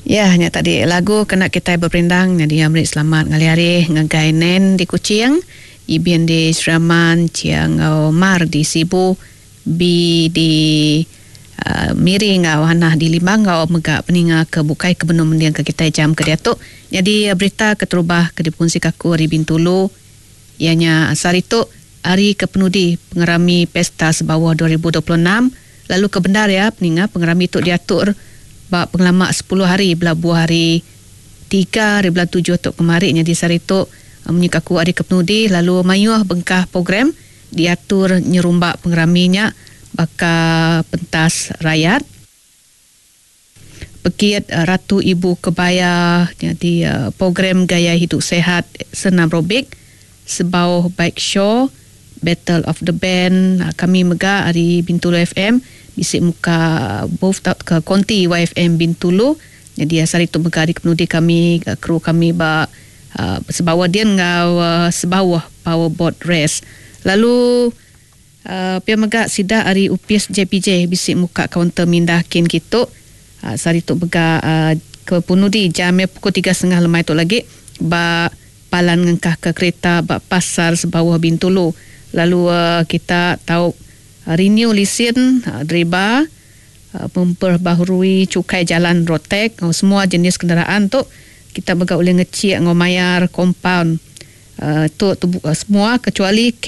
Ya nya tadi lagu kena kitai beperindang nyadi iya meri selamat ngalih hari ngagai Nen di Kuching, Ibin di Sri Aman, Chia enggau Mar di Sibu, B di Miri enggau Hanah di Limbang enggau mega peninga ke bukai ke benung mendingka kitai jam ke diatu. Nyadi berita keterubah ke dipekunsika aku ari Bintulu iya nya sehari tu hari ke penudi pengerami Pesta Sebauh 2026 lalu ke bendar iya peninga pengerami tu diatur ba pengelama sepuluh hari belabuh hari tiga hari bulan tujuh tu kemari nyadi sehari tu munyi ka aku hari ke penudi lalu mayuh bengkah program diatur nyerumba pengerami nya baka pentas rayat. Pekit Ratu Ibu Kebaya nyadi program gaya hidup sihat senamrobik, Sebauh Bike Show, Battle of the Band, kami mega ari Bintulu FM bisi muka booth tauka konti YFM Bintulu. Nyadi sehari tu mega ari kepenudi kami kru kami ba Sebauh din enggau Sebauh Power Boat Race. Lalu. Pia mega sida ari opis JPJ bisi muka kaunter mindah kin kitu sehari tu mega ke penudi jam iya pukul tiga setengah lemai tu lagi ba palan ngengkahka kereta ba Pasar Sebauh Bintulu lalu kita tau renew lisin deriba memperbaharui chukai jalan road tax enggau semua jenis kenderaan tu kita mega ulih ngechik enggau mayar kompaun tu semua kecuali.